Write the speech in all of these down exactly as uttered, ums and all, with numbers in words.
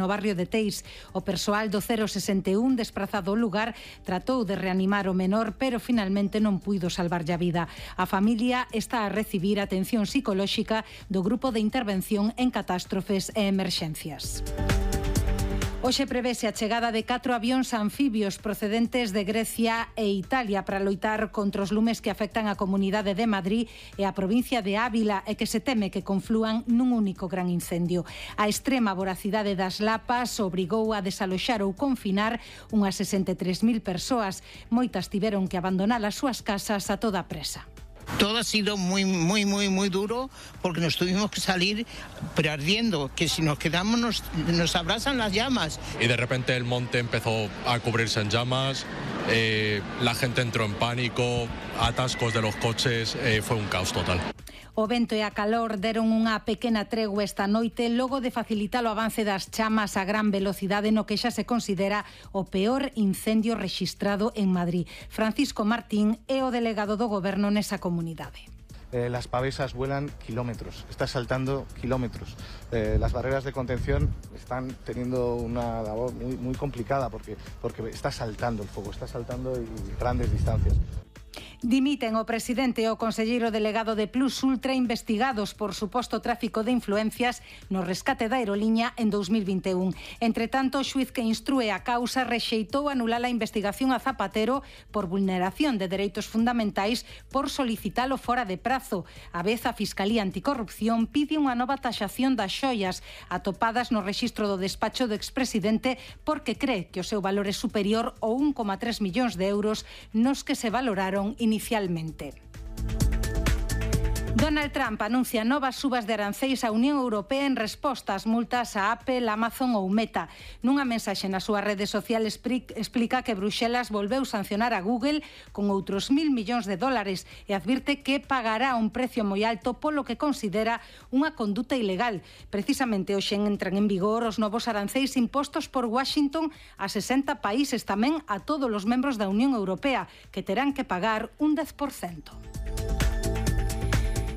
no barrio de Teis. O persoal do cero sesenta e un desprazado ao lugar tratou de reanimar o menor, pero finalmente non puido salvarlle a vida. A familia está a recibir atención psicolóxica do Grupo de Intervención en Catástrofes e Emerxencias. Hoxe prevese a chegada de catro avións anfibios procedentes de Grecia e Italia para loitar contra os lumes que afectan a Comunidade de Madrid e a provincia de Ávila e que se teme que conflúan nun único gran incendio. A extrema voracidade das lapas obrigou a desaloxar ou confinar unhas sesenta e tres mil persoas. Moitas tiveron que abandonar as súas casas a toda presa. Todo ha sido muy, muy, muy, muy duro porque nos tuvimos que salir pero ardiendo, que si nos quedamos nos, nos abrazan las llamas. Y de repente el monte empezó a cubrirse en llamas, eh, la gente entró en pánico, atascos de los coches, eh, fue un caos total. O vento e a calor deron unha pequena tregua esta noite logo de facilitar o avance das chamas a gran velocidade no que xa se considera o peor incendio rexistrado en Madrid. Francisco Martín é o delegado do goberno nesa comunidade. Eh, las pavesas vuelan kilómetros, está saltando kilómetros. Eh, las barreras de contención están teniendo una labor muy, muy complicada porque, porque está saltando el fuego, está saltando y grandes distancias. Dimiten o presidente e o conselleiro delegado de Plus Ultra investigados por suposto tráfico de influencias no rescate da aeroliña en dous mil vinte e un. Entre tanto, o xuiz que instrúe a causa rexeitou anular a investigación a Zapatero por vulneración de dereitos fundamentais por solicitalo fora de prazo. A vez, a Fiscalía Anticorrupción pide unha nova taxación das xoias atopadas no rexistro do despacho do expresidente porque cree que o seu valor é superior ao un coma tres millóns de euros nos que se valoraron inicialmente. Donald Trump anuncia novas subas de aranceis á Unión Europea en resposta ás multas a Apple, Amazon ou Meta. Nunha mensaxe na súa rede social explica que Bruxelas volveu sancionar a Google con outros mil millóns de dólares e advirte que pagará un precio moi alto polo que considera unha conduta ilegal. Precisamente hoxe entran en vigor os novos aranceis impostos por Washington a sesenta países, tamén a todos os membros da Unión Europea, que terán que pagar un dez por cento.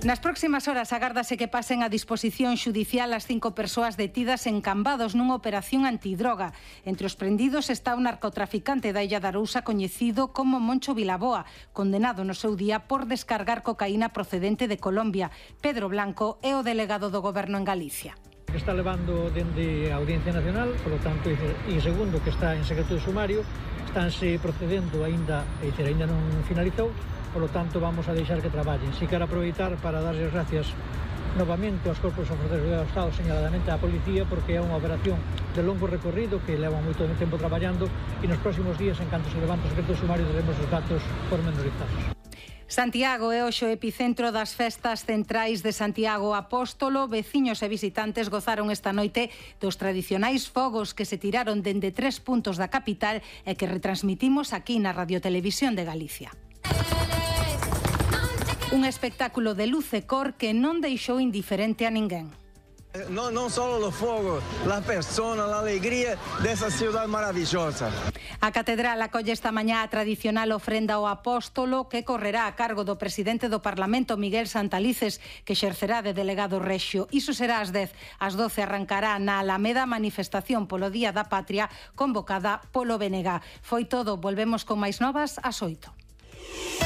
Nas próximas horas agárdase que pasen a disposición xudicial as cinco persoas detidas en Cambados nunha operación antidroga. Entre os prendidos está un narcotraficante da Illa de Arousa coñecido como Moncho Vilaboa, condenado no seu día por descargar cocaína procedente de Colombia. Pedro Blanco é o delegado do goberno en Galicia. Que está levando dende a Audiencia Nacional, polo tanto, e segundo que está en secreto de sumario, estánse procedendo aínda, e dizer, aínda non finalizou, polo tanto vamos a deixar que traballen. Si quero aproveitar para darles gracias novamente aos corpos e forzas do Estado, señaladamente á Policía, porque é unha operación de longo recorrido que leva moito tempo traballando e nos próximos días, en canto se levante o secreto de sumario, teremos os datos pormenorizados. Santiago é hoxe o epicentro das festas centrais de Santiago Apóstolo. Veciños e visitantes gozaron esta noite dos tradicionais fogos que se tiraron dende tres puntos da capital e que retransmitimos aquí na Radiotelevisión de Galicia. Un espectáculo de luz e cor que non deixou indiferente a ninguén. No, non só o fogo, a persona, a alegría dessa cidade maravilhosa. A Catedral acolle esta mañá a tradicional ofrenda ao Apóstolo que correrá a cargo do presidente do Parlamento, Miguel Santalices, que exercerá de delegado rexio. Iso será ás dez. Ás doce arrancará na Alameda a manifestación polo Día da Patria convocada polo B N G. Foi todo, volvemos con máis novas ás oito.